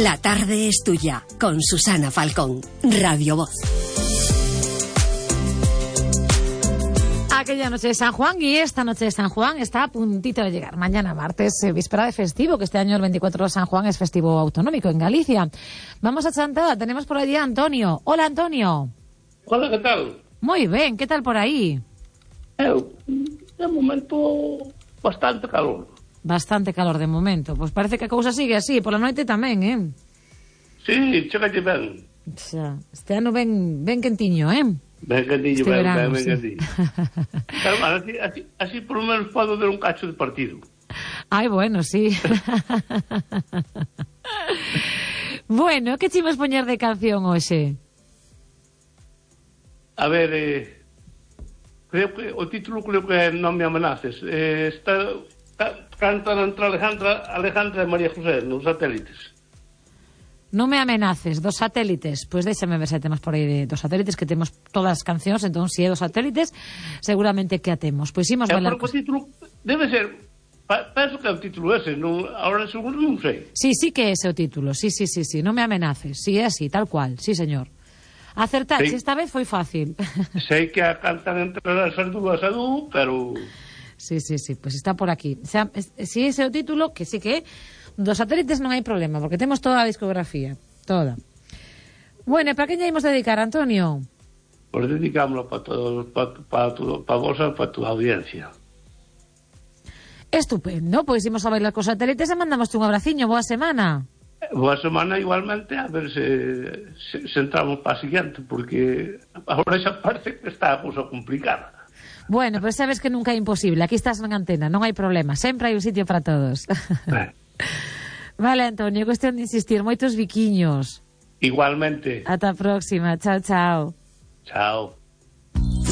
La tarde es tuya, con Susana Falcón, Radio Voz. Aquella noche de San Juan y esta noche de San Juan está a puntito de llegar. Mañana martes, víspera de festivo, que este año el 24 de San Juan es festivo autonómico en Galicia. Vamos a Chantada, tenemos por allí a Antonio. Hola, Antonio. Hola, ¿qué tal? Muy bien, ¿qué tal por ahí? De momento, bastante calor. Bastante calor de momento. Pues parece que a cousa sigue así, pola noite tamén, Sí, chégalle ben. Xa, este ano ben quentiño, Ben quentiño, este verano, ben sí. quentiño. Pero, bueno, así por lo menos podo ver un cacho de partido. Ai, bueno, sí. Bueno, que chimos poñer de canción hoxe? A ver, creo que o título que Non me amenaces. Cantan entre Alejandra e María José nos Satélites. Non me amenaces, dos Satélites. Pois déxame ver se temos por aí dos Satélites, que temos todas as cancións, entón se é dos Satélites, seguramente que a temos. Pois imos bailar. O título debe ser, penso que é o título ese, ahora seguro non sei. Sí que é ese o título, sí, non me amenaces, sí, é así, tal cual, sí señor. Acertaxe, esta vez foi fácil. Sei que a cantan entre as dúas a dú, pero... Sí, pois está por aquí. O sea, si ese é o título, que sí que é, dos Satélites non hai problema, porque temos toda a discografía, toda. Bueno, e para que lle imos dedicar, Antonio? Pues dedicámoslo para vos e para tu audiencia. Estupendo, pois imos a bailar cos Satélites e mandamos un abraciño, boa semana. Boa semana igualmente, a ver se entramos para a siguiente, porque agora xa parece que está a cousa complicada. Bueno, pues sabes que nunca é imposible, aquí estás na antena, non hai problema, sempre hai un sitio para todos. Vale, Antonio, cuestión de insistir, moitos biquiños. Igualmente. Ata a próxima, chao, chao. Chao.